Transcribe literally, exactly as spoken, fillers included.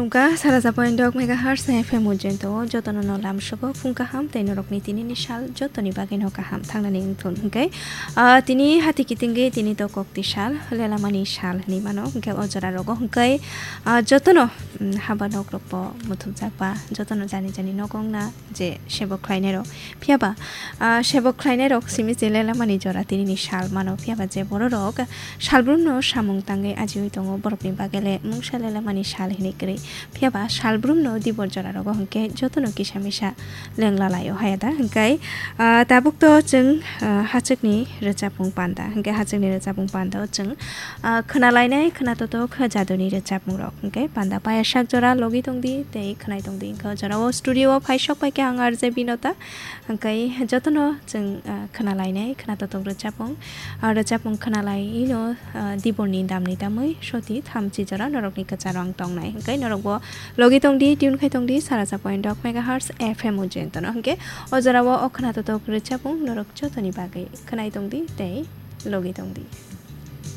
Wngkha sara sa point dok megahertz F M ujento, jotono no lamsogo phung kaham tei norokni tinini sal jotoni bagwi no kaham thangnani wngthun hwnkhe, ah, tini hati kitingwi tini to kokti sal, lelamani sal hinwi mano, hwnkhe o jora rogo hwnkhe, ah, jotono, mm, haba nok rokbo muthupjak ba, jotono jani jani nogo wngna je sebo khlainairok. Phiyaba, ah, sebo khlainairok simi se lelamani jora tinini sal mano. Phiyaba je bororok salbrumno samung tangwi ajiwi tongo, borokni bagele mungsa lelamani sal hinwi kwrwi. Phiyaba salbrumno dibor jora rogo hwnkhe jotono kisa misa lengla laio haya da. Hwnkhe, ah, tabuk to chwng, ah, hachwkni rwchapmung panda. Hwnkhe hachwkni rwchapmung panda o chwng, ah, khwnalainai khwnatotok jaduni rwchapmung rok. Hwnkhe panda paya sak jora logi tongdi tei khwnai tongdi. Hwnkhe o jora o studio o phai sok pai khe ang R J Binota. Hwnkhe jotono chwng, ah, khwnalainai khwnatotok rwchapmung. Ah, rwchapmung khwnalaino, ah, diborni damni tamwi soti thamchi jora norokni kwcharo ang tongnai. Hwnkhe norokbo logi tongdi, tune khai tongdi, sara sa point dok megahertz F M ujento no. Hwnkhe o jorao o khwnatotok rwchapmung norok jotoni bagwi khwnai tongdi tei logi tongdi.